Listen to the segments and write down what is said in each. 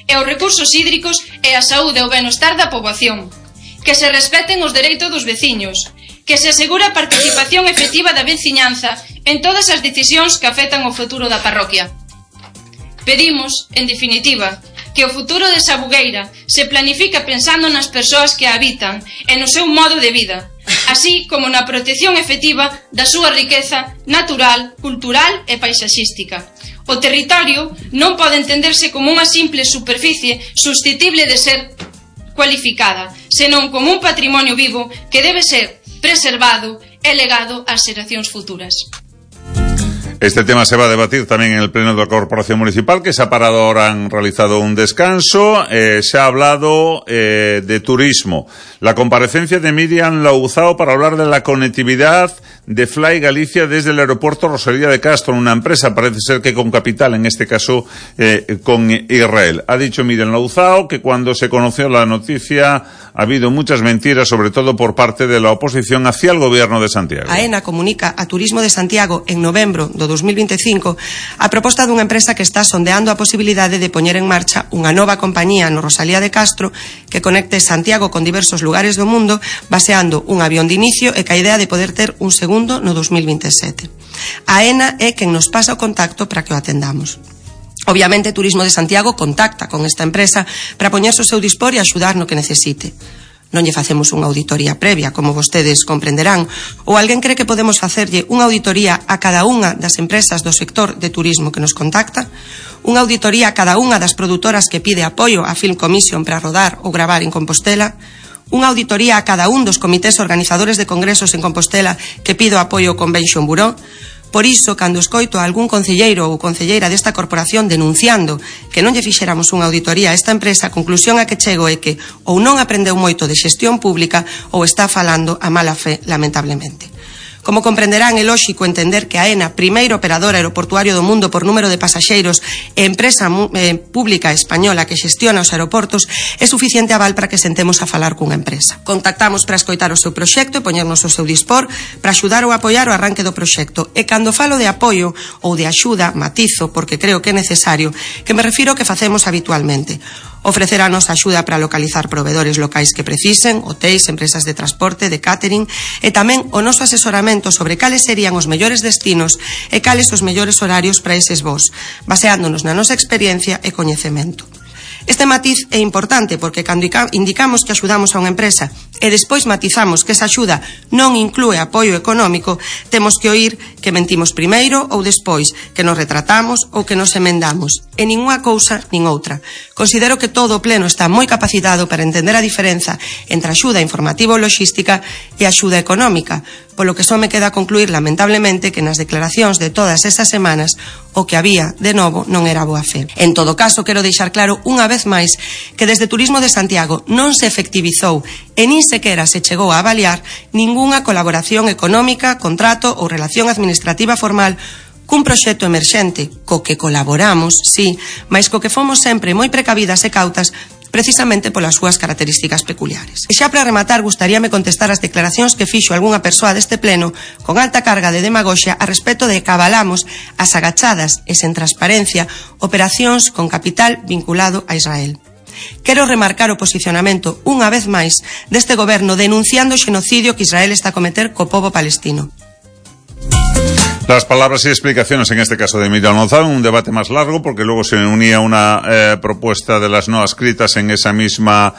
e os recursos hídricos e a saúde e o benestar da poboación, que se respeten os dereitos dos veciños, que se asegure a participación efectiva da veciñanza en todas as decisións que afectan o futuro da parroquia. Pedimos, en definitiva, que o futuro de Sabugueira se planifique pensando nas persoas que a habitan e no seu modo de vida, así como na protección efectiva da súa riqueza natural, cultural e paisaxística. O territorio non pode entenderse como unha simple superficie susceptible de ser cualificada, senón como un patrimonio vivo que debe ser preservado e legado ás xeracións futuras. Este tema se va a debatir tamén en el Pleno da Corporación Municipal, que se ha parado ahora, han realizado un descanso. Se ha hablado de turismo. La comparecencia de Miriam Louzao para hablar de la conectividad de Fly Galicia desde el aeropuerto Rosalía de Castro, una empresa, parece ser que con capital, en este caso con Israel. Ha dicho Miriam Louzao que cuando se conoció la noticia ha habido muchas mentiras, sobre todo por parte de la oposición hacia el gobierno de Santiago. AENA comunica a Turismo de Santiago en novembro do 2025 a proposta dunha empresa que está sondeando a posibilidade de poñer en marcha unha nova compañía no Rosalía de Castro que conecte Santiago con diversos lugares do mundo baseando un avión de inicio e ca idea de poder ter un segundo no 2027. AENA é quen nos pasa o contacto para que o atendamos. Obviamente, Turismo de Santiago contacta con esta empresa para poñerse o seu dispor e axudar no que necesite. Non lle facemos unha auditoría previa, como vostedes comprenderán, ou alguén cree que podemos facerlle unha auditoría a cada unha das empresas do sector de turismo que nos contacta, unha auditoría a cada unha das produtoras que pide apoio á Film Commission para rodar ou gravar en Compostela, unha auditoría a cada un dos comités organizadores de congresos en Compostela que pido apoio ao Convention Bureau. Por iso, cando escoito a algún concelleiro ou concelleira desta corporación denunciando que non lle fixéramos unha auditoría a esta empresa, a conclusión a que chego é que ou non aprendeu moito de xestión pública ou está falando a mala fe, lamentablemente. Como comprenderán, é lóxico entender que a AENA, primeiro operador aeroportuario do mundo por número de pasaxeiros e empresa pública española que xestiona os aeroportos, é suficiente aval para que sentemos a falar cunha empresa. Contactamos para escoitar o seu proxecto e poñernos o seu dispor para axudar ou apoiar o arranque do proxecto. E cando falo de apoio ou de axuda, matizo, porque creo que é necesario, que me refiro ao que facemos habitualmente. Ofreceranos axuda para localizar proveedores locais que precisen, hotéis, empresas de transporte, de catering, e tamén o noso asesoramento sobre cales serían os mellores destinos e cales os mellores horarios para eses voos, baseándonos na nosa experiencia e coñecemento. Este matiz é importante porque cando indicamos que axudamos a unha empresa e despois matizamos que esa axuda non inclúe apoio económico, temos que oír que mentimos primeiro ou despois, que nos retratamos ou que nos emendamos. E ningunha cousa nin outra. Considero que todo o pleno está moi capacitado para entender a diferenza entre axuda informativa ou logística e axuda económica, polo que só me queda concluir lamentablemente que nas declaracións de todas esas semanas o que había, de novo, non era boa fe. En todo caso, quero deixar claro unha vez máis que desde Turismo de Santiago non se efectivizou e nin sequera se chegou a avaliar ningunha colaboración económica, contrato ou relación administrativa formal cun proxecto emerxente, co que colaboramos, sí, mas co que fomos sempre moi precavidas e cautas precisamente polas súas características peculiares. E xa para rematar, gustaríame contestar as declaracións que fixo algunha persoa deste pleno con alta carga de demagoxia a respecto de que avalamos as agachadas e sen transparencia operacións con capital vinculado a Israel. Quero remarcar o posicionamento, unha vez máis, deste goberno denunciando o xenocidio que Israel está a cometer co pobo palestino. Las palabras y explicaciones en este caso de Miriam Louzao, un debate más largo porque luego se unía una propuesta de las no adscritas en esa misma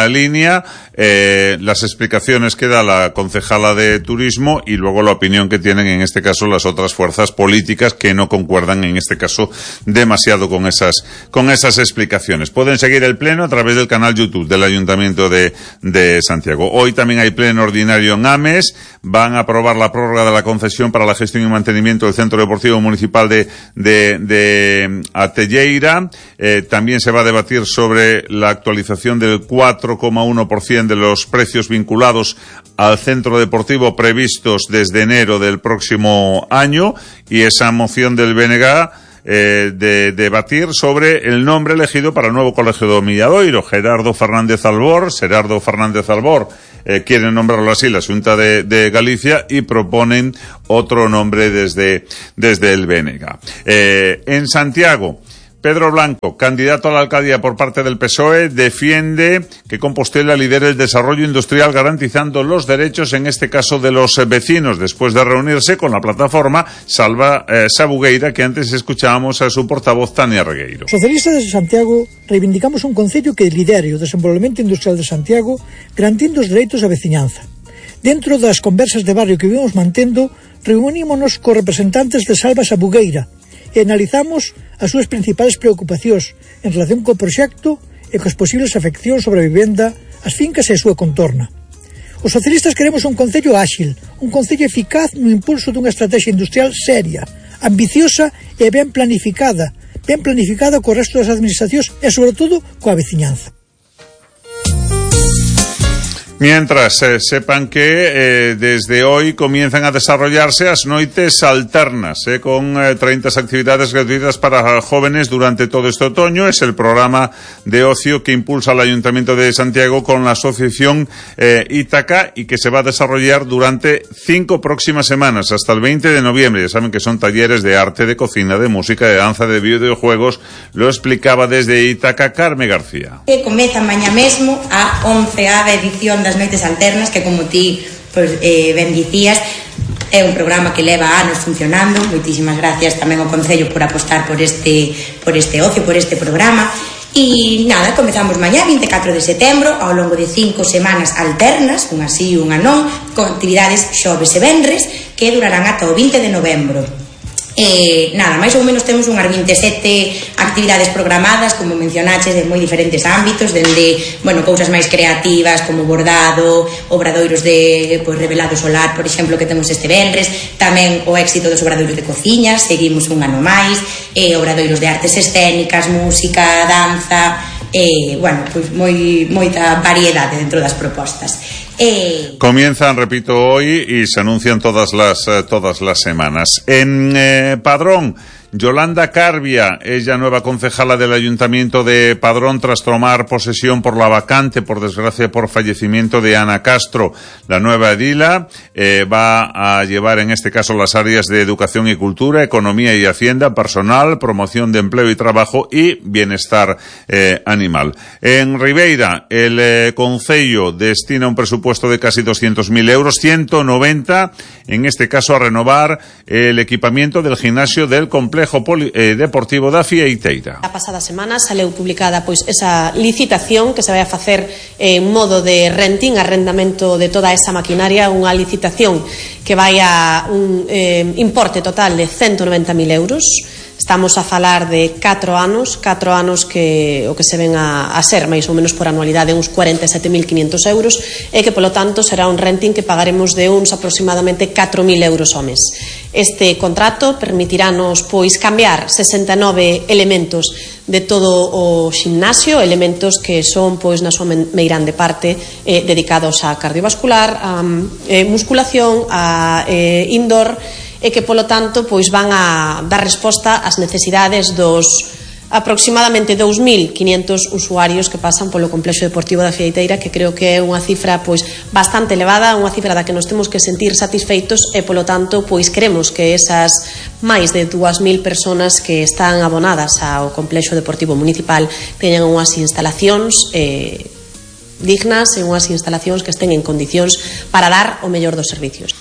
línea, las explicaciones que da la concejala de turismo y luego la opinión que tienen en este caso las otras fuerzas políticas que no concuerdan en este caso demasiado con esas explicaciones. Pueden seguir el pleno a través del canal YouTube del Ayuntamiento de Santiago. Hoy también hay pleno ordinario en Ames, van a aprobar la prórroga de la concesión para la gestión y mantenimiento del Centro Deportivo Municipal de Atelleira. También se va a debatir sobre la actualización del 4,1% de los precios vinculados al centro deportivo previstos desde enero del próximo año y esa moción del BNG de debatir sobre el nombre elegido para el nuevo colegio de Milladoiro. Gerardo Fernández Albor quieren nombrarlo así la Xunta de Galicia y proponen otro nombre desde el BNG. En Santiago Pedro Blanco, candidato a la alcaldía por parte del PSOE, defiende que Compostela lidere el desarrollo industrial garantizando los derechos, en este caso, de los vecinos, después de reunirse con la plataforma Salva Sabugueira, que antes escuchábamos a su portavoz, Tania Regueiro. Socialistas de Santiago reivindicamos un concello que lidere o desenvolvemento industrial de Santiago garantindo os dereitos da veciñanza. Dentro das conversas de barrio que vimos mantendo, reunímonos cos representantes de Salva Sabugueira e analizamos as súas principais preocupacións en relación co proxecto e cos posibles afeccións sobre a vivenda, as fincas e a súa contorna. Os socialistas queremos un concello áxil, un concello eficaz no impulso dunha estrategia industrial seria, ambiciosa e ben planificada co resto das administracións e, sobre todo, coa veciñanza. Mientras, sepan que desde hoy comienzan a desarrollarse las noites alternas, con 30 actividades gratuitas para jóvenes durante todo este otoño. Es el programa de ocio que impulsa el Ayuntamiento de Santiago con la asociación Ítaca y que se va a desarrollar durante 5 próximas semanas, hasta el 20 de noviembre. Ya saben que son talleres de arte, de cocina, de música, de danza, de videojuegos. Lo explicaba desde Ítaca Carme García. Comeza mañá mesmo a 11ª edición das noites alternas, que como ti ben dicías, é un programa que leva anos funcionando. Moitísimas gracias tamén ao Concello por apostar por este ocio, por este programa. E nada, comezamos mañá 24 de setembro ao longo de 5 semanas alternas, unha sí e unha non, con actividades xoves e venres que durarán ata o 20 de novembro. Nada, máis ou menos temos unhas 27 actividades programadas, como mencionaches, de moi diferentes ámbitos, dende, cousas máis creativas como bordado, obradoiros de revelado solar, por exemplo, que temos este venres, tamén o éxito dos obradoiros de cociña, seguimos un ano máis, obradoiros de artes escénicas, música, danza, moita variedade dentro das propostas. Comienzan, repito, hoy y se anuncian todas las semanas. En Padrón, Yolanda Carbia es ya nueva concejala del Ayuntamiento de Padrón tras tomar posesión por la vacante, por desgracia, por fallecimiento de Ana Castro. La nueva edila va a llevar, en este caso, las áreas de educación y cultura, economía y hacienda, personal, promoción de empleo y trabajo y bienestar animal. En Ribeira, el Concello destina un presupuesto de casi 200.000 euros, 190, en este caso, a renovar el equipamiento del gimnasio del complejo deportivo da Fieiteira. A pasada semana saleu publicada esa licitación que se vai a facer en modo de renting, arrendamento de toda esa maquinaria, unha licitación que vai a un importe total de 190.000 euros. Estamos a falar de 4 anos que o que se ven a ser máis ou menos por anualidade uns 47.500 euros e que, polo tanto, será un renting que pagaremos de uns aproximadamente 4.000 euros ao mes. Este contrato permitirános cambiar 69 elementos de todo o ximnasio, elementos que son na súa meirande parte dedicados a cardiovascular, a musculación, a indoor, e que, polo tanto, van a dar resposta ás necesidades dos aproximadamente 2.500 usuarios que pasan polo complexo deportivo da Fieiteira, que creo que é unha cifra bastante elevada, unha cifra da que nos temos que sentir satisfeitos e, polo tanto, queremos que esas máis de 2.000 personas que están abonadas ao complexo deportivo municipal teñan unhas instalacións dignas e unhas instalacións que estén en condicións para dar o mellor dos servicios.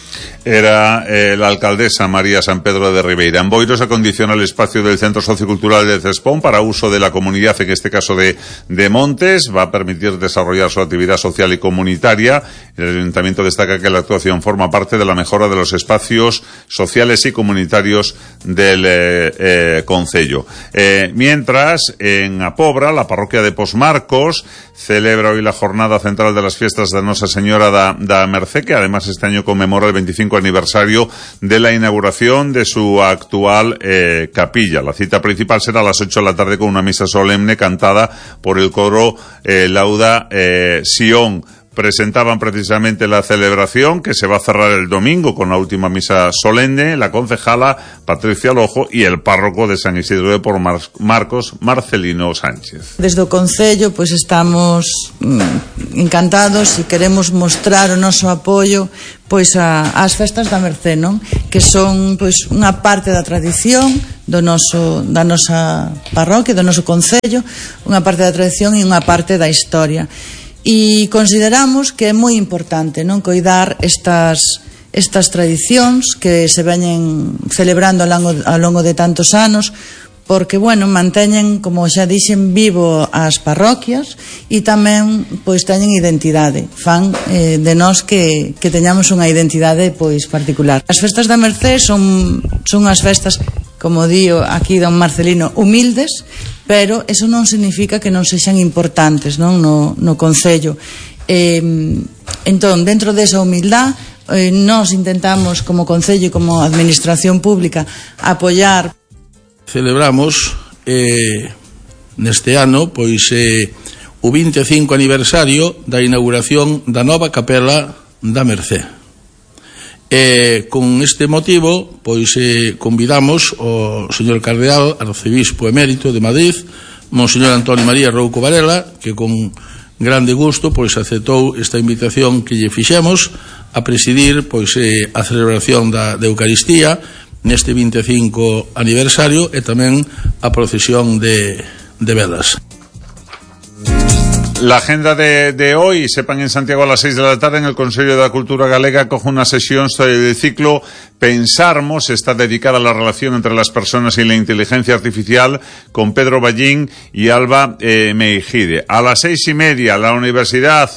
Era la alcaldesa María San Pedro de Ribeira. En Boiro se acondiciona el espacio del Centro Sociocultural de Cespón para uso de la comunidad, en este caso de Montes. Va a permitir desarrollar su actividad social y comunitaria. El Ayuntamiento destaca que la actuación forma parte de la mejora de los espacios sociales y comunitarios del concello. Mientras, en Apobra, la parroquia de Posmarcos celebra hoy la jornada central de las fiestas de Nosa Señora da Mercé, que además este año conmemora el 25 aniversario de la inauguración de su actual capilla. La cita principal será a las 8 de la tarde con una misa solemne cantada por el coro Lauda Sion. presentaban precisamente la celebración que se va a cerrar el domingo con la última misa solemne, la concejala Patricia Lojo y el párroco de San Isidro de Marcos, Marcelino Sánchez. Desde o Concello pois estamos encantados e queremos mostrar o noso apoio pois ás festas da Mercé, non? Que son pois unha parte da tradición da nosa parroquia, do noso concello, unha parte da tradición e unha parte da historia. E consideramos que é moi importante, non, coidar estas tradicións que se veñen celebrando ao longo de tantos anos, porque, bueno, manteñen, como xa dixen, vivo as parroquias e tamén, pois, teñen identidade. Fan de nós que teñamos unha identidade, pois, particular. As festas da Mercé son as festas, como dío aquí don Marcelino, humildes, pero eso non significa que non sexan importantes, non, no concello. Entón, dentro desa humildad, nós intentamos, como concello e como administración pública, apoiar. Celebramos neste ano pois o 25 aniversario da inauguración da nova capela da Mercé. Con este motivo pois convidamos o señor cardeal arcebispo emérito de Madrid, monseñor Antonio María Rouco Varela, que con grande gusto pois aceptou esta invitación que lle fixemos a presidir pois a celebración da Eucaristía neste 25 aniversario e tamén a procesión de velas. La agenda de hoy, sepan, en Santiago a las 6 de la tarde en el Consello de la Cultura Galega coge una sesión del ciclo Pensarmos, está dedicada a la relación entre las personas y la inteligencia artificial con Pedro Ballín y Alba Meijide. A las 6:30 la universidad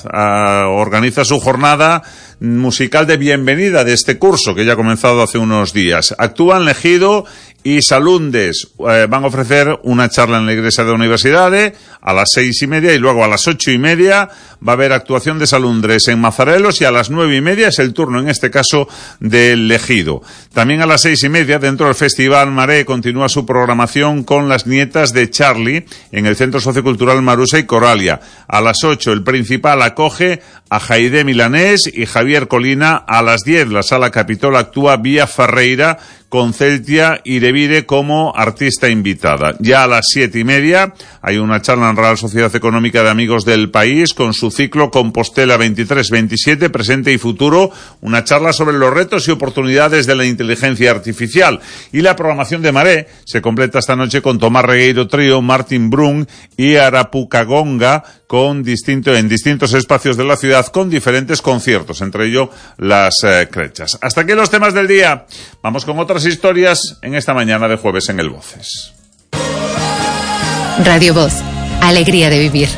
organiza su jornada musical de bienvenida de este curso que ya ha comenzado hace unos días. Actúan Legido y Salundes, van a ofrecer una charla en la iglesia de la universidad a las 6:30 y luego a las 8:30 va a haber actuación de Salundres en Mazarelos y a las 9:30 es el turno, en este caso, del Legido. También a las 6:30, dentro del Festival Maré, continúa su programación con las nietas de Charlie en el Centro Sociocultural Marusa y Coralia. A las 8, el Principal acoge a Jaide Milanés y Javier Colina. A las 10, la Sala Capitol actúa Vía Ferreira con Celtia y Devire como artista invitada. Ya a las 7:30 hay una charla en Real Sociedad Económica de Amigos del País con su ciclo Compostela 23-27, presente y futuro, una charla sobre los retos y oportunidades de la inteligencia artificial. Y la programación de Maré se completa esta noche con Tomás Regueiro Trío, Martin Brun y Arapucagonga en distintos espacios de la ciudad con diferentes conciertos, entre ellos las crechas. Hasta aquí los temas del día. Vamos con otras historias en esta mañana de jueves en el Voces. Radio Voz, alegría de vivir.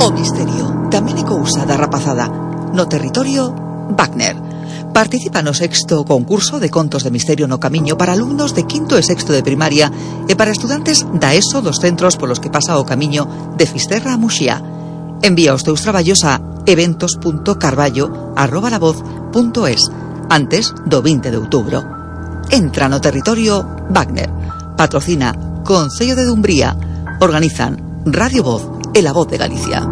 O misterio tamén é cousa da rapazada. No territorio, Wagner. Participa no 6º concurso de contos de misterio no camiño para alumnos de 5º e 6º de primaria e para estudantes da ESO dos centros polos que pasa o camiño de Fisterra a Muxía. Envía os teus traballos a eventos.carballo@lavoz.es antes do 20 de outubro. Entra no territorio Wagner. Patrocina Concello de Dumbría. Organizan Radio Voz e La Voz de Galicia.